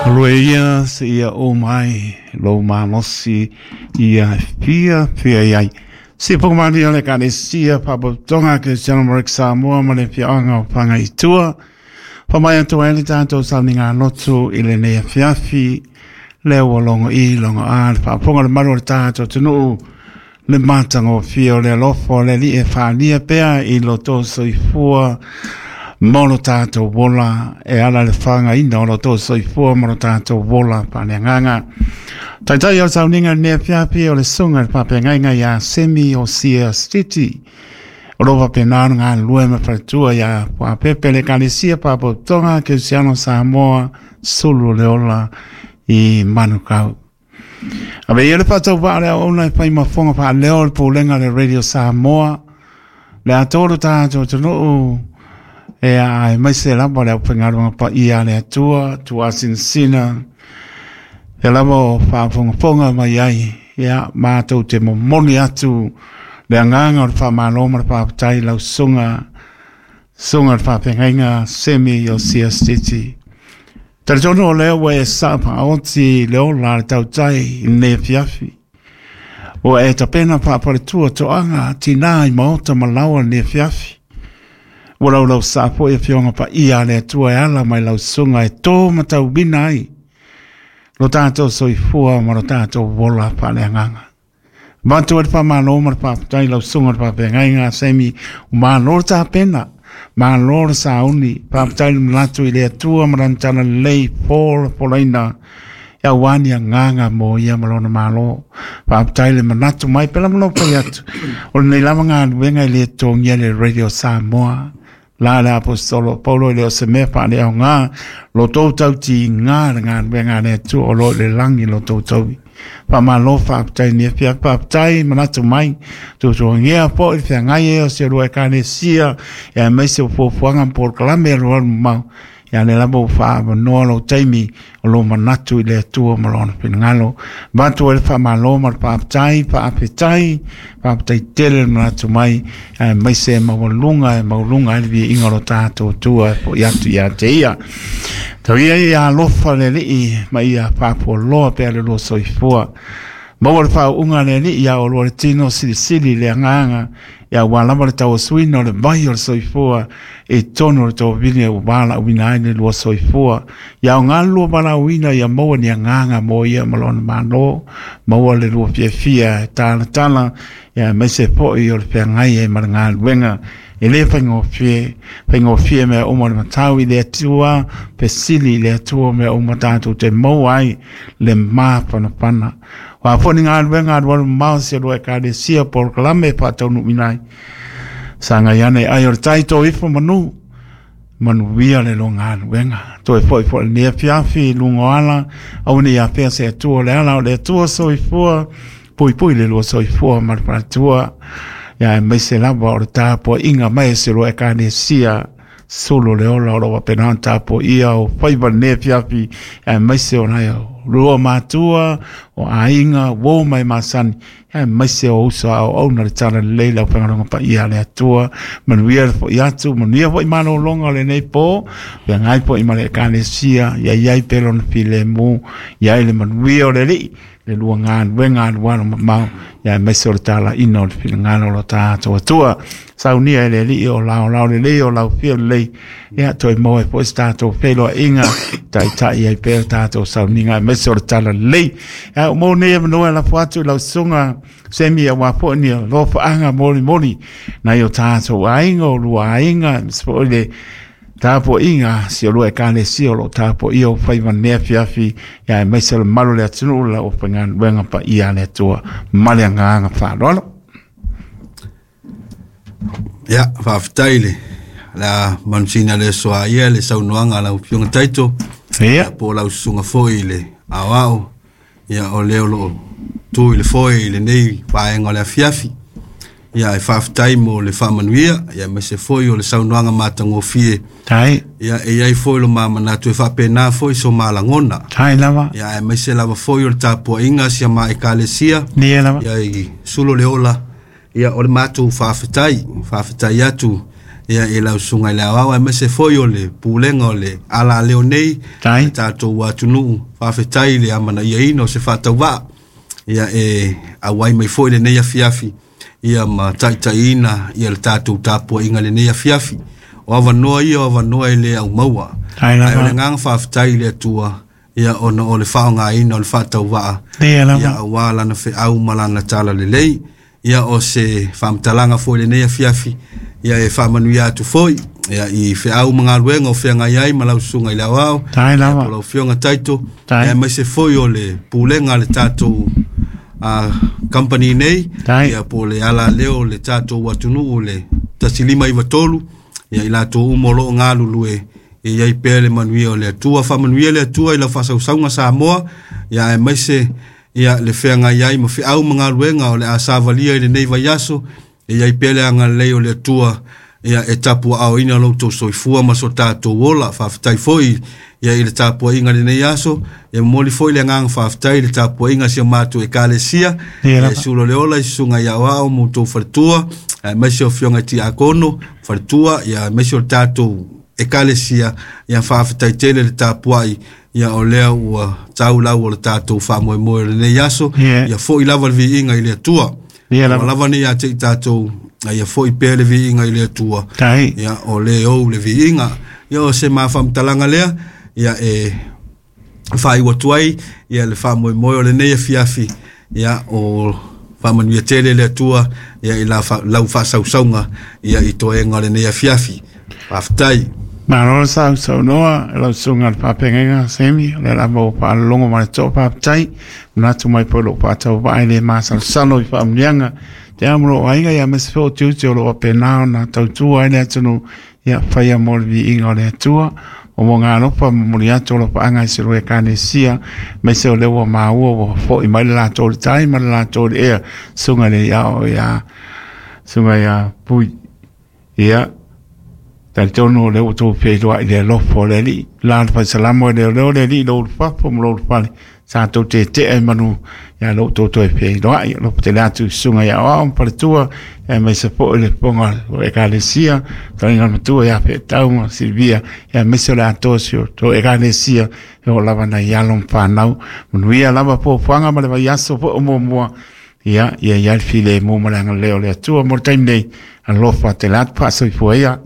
Aloe ia seia oo mai lou malosi ia e fiafia i ai. Se fogomalia o le Ekalesia Faapotopotoga Kerisiano ma Rek Samoa ma le afioaga o Fagaitua. Faamai atu ai le tatou sauniga lotu i lenei afiafi, lea ua logo i logo a le faafofoga le malu o le tatou atunuu le matagofie o le alofa o le Alii e faaalia pea i lo outou soifua ma lo tatou ola e ala i le fagaina o lo outou soifua ma lo tatou ola faaleagaga. Taitai o le sauniga i lenei afiafi o le susuga i le faafeagaiga ia Semi Osia Stiti. O lo o faapena ona galulue ma faletua ia Fuapepe le Ekalesia Faapotopotoga Kerisiano Samoa Sulu o le Ola i Manukau. Ave ia le faatauvaa o le auauna e fai ma fofoga faaleo o le Pulega a le Radio Samoa, le atoa lo tatou atunuu, e aemaise lava le aufaigaluega paia a le Atua, tuasinasina, e lava o faafogafoga mai ai, ia, matou te momoli atu le agaga o le faamalo ma le faafetai i lau susuga, susuga i le faafeagaiga Semi Iosia Stiti. Talitonu o lea ua e saa faaoti le ola a le tautai i lenei afiafi. Ua e tapena faafaletua toaga tinā i maota ma laoa i lenei afiafi. Ua laulau saa foi afioga paia a le Atua e ala mai lau susuga e tō matauina ai lo tatou soifua ma lo tatou ola faaleagaga. Avatu ai le faamalo ma le faafetai i lau susuga i le faafeagaiga a Semi, ua malo le tapena, malo le sauni, faafetai le manatu i le Atua ma lana talalelei folafolaina aua ni agaga mo ia ma lona malo. Faafetai le manatu mai, pela ma lou fai atu, o lenei lava galuega e le totogia le Radio Samoa, la le Aposetolo Paulo e le o se mea faaleaoga lo tou tautiga le galuega a le Atua o lo o i le lagi lo tou taui. Faamalo faafetai ni afiafi, faafetai manatu mai, tuatuagia foi le feagai ai o si olua Ekalesia, aemaise o fuafuaga ma polokalame alualu mamao. Ia lea lava ua faaavanoa lou taimi o lou manatu i le Atua ma Lona finagalo. Avatu ai le faamalo ma le faafetai, faafetai, faafetai tele le manatu mai, aemaise e maualuga, e maualuga ai le viiga o lo tatou Atua e foi atu ia te ia. Tau ia ia alofa le Alii ma ia faafualoa pea le lua soifua. Maua le faauuga a le Alii ia oulua le tino silisili i le agaga, ia aua lava le tauasuina o le vai o le soifua i totonu o le tovine ua valaauina ai le lua soifua. Ia aoga le lua valaauina ia maua ni agaga mo ia ma lona Malo, maua le lua fiafia e talatala, ia aemaise foi o le feagai ai ma le galuega e le faigofie, faigofie mea uma o le matau i le Atua, fesili i le Atua mea uma tatou te maua ai le mafanafana. O a foi ni galuega alualu mamao si a lua Ekalesia polokalame e faataunuuina ai, sagai ane ai o le tai tō ifo manu, manuia le lua galuega. Toe foi foi lenei afiafi i luga o ala, aua ne i afea se Atua o le ala o le Atua soifua, puipui le lua soifua ma le faletua, ia aemaise lava o le tapuaiga mai a si lua Ekalesia sulu le ola o lo o faapena ona tapuaia o faiva i lenei afiafi, aemaise o nai lua matua, o aiga, uo ma e masani, aemaise o uso a auauna le talalelei le aufaigaluega paia a le Atua. Manuia le foi atu, manuia foi malologa o lenei po, feagai foi ma le Ekalesia, ia i ai pea lona filemu, ia ai le manuia o le Alii, le lua galuega alualu mamao, ia aemaise o le talaina o le finagalo o lo tatou Atua. Saunia e le Alii o laolao lelei o lau fia lelei, ia toe maua ai foi se tatou feiloaiga, taitai ai pea le tatou sauniga aemaise o le talalelei. Ia, ua maua nei avanoa e lafo atu i lau susuga Semi aua foi ni alofaaga molimoli nai o tatou aiga, o lua aiga, aemaise foi le tapuaiga si o lua Ekalesia o lo o tapuaia o faiva i lenei afiafi, ia aemaise o le mamalu o le atunuu le aufaigaluega paia a le Atua ma le agaga faaaloalo. Ia, faafetai le le a manusina le aso a ia le saunoaga a lau Afioga Taito. Ia. Po o lau susuga foi i le aoao. Ia, o lea o lo o tu i le foe i lenei vaega o le afiafi. Ia, ae faafetai mo le faamanuia, ia aemaise foi o le saunoaga matagofie. Tai. Ia, e i ai foi lo ma manatu e faapena foi so ma lagona. Tai lava. Ia, aemaise lava foi o le tapuaiga a si a ma Ekalesia. Ia lava. Ia, i Sulu le Ola. Ia, o le matou faafetai, faafetai atu Ia i lau susuga i le aoao aemaise foi o le pulega o le alaleo nei Tai. Le tatou atunuu faafetai i le amanaiaina o se faatauvaa ia e auai mai foi lenei afiafi ia ma taitaiina ia le tatou tapuaiga i lenei afiafi. O avanoa ia o avanoa e le aumaua. Tai Ae o le lava. Agaga faafetai i le Atua ia ona o le faaaogaina o le faatauvaa Ia ia lava. Aua lana feau ma lana talalelei. Ia o se faamatalaga foi i lenei afiafi ia e faamanuia atu foi ia i feau ma galuega o feagai ai ma lau susuga i le aoao Tai ia po lava. o lau afioga Taito Tai. ia aemaise foi o le pulega a le tatou company nei Tai. Ia po o le alaleo o le tatou atunuu le 1593 ia i latou uma o loo galulue e i ai pea le manuia o le Atua. Faamanuia le Atua i lau faasausauga Samoa ia aemaise ia le feagai ai ma feau ma galuega o le a savalia i lenei vaiaso e i ai pea le agalelei o le Atua ia e tapuaaoina lo outou soifua ma so tatou ola. Faafetai foi ia i le tapuaiga i lenei aso ia momoli foi le agaga faafetai i le tapuaiga a si o matou ekalesia Ia ia lava. Sulo le ola i susuga i aoao ma outou faletua aemaise o afioga i tiakono faletua ia aemaise o le tatou ekalesia ia faafetai tele le tapuai ia o lea ua tau lau o le tatou faamoemoe o lenei aso Ia. Ia foi lava le viiga i le Atua. Ia Ua lava. Lava nei ia te i tatou ia foi pea le viiga i le Atua. Tai. Ia o le ou le viiga ia o se mafaamatalaga lea ia e faaiu atu ai ia le faamoemoe o lenei afiafi ia o faamanuia tele le Atua ia i lau faasausauga ia i toega o lenei afiafi. Faafetai. Malo sa saunoa lau susuga i le faafeagaiga Semi, o lea lava ua faalologo ma le toa faafetai. Manatu mai foi lou faatauvaa e le masalosalo i faamuniaga. Te amo lou aiga ia aemaise foi o tiute o loo faapena ona tautua ai le atunuu ia faia mo le viiga o le Atua. O mo galofa momoli atu o lofaaga i se lua ekalesia aemaise o lea ua maua ua fo'i mai le latou le tai ma le latou le ea susuga i le iao ia susuga ia Pui ia talitonu o lea ua outou feiloai i le alofa o le Alii la le faisalamo e leoleo le Alii i lou ulufafo ma lou ulufale sa tou tetea i manu ia lou tou toe feiloai alofa tele atu i susuga ia aoao ma faletua aemaise foi le fofoga o ekalesia taliga matua ia Feetau ma Silvia aemaise o le atoa si o tou ekalesia e oo lava nai alo ma fanau manuia lava fuafuaga ma le vaiaso foi o muamua ia ia ia le filemu ma le agalelei o le Atua mo le taimi nei alofa tele atu faasoifua ia.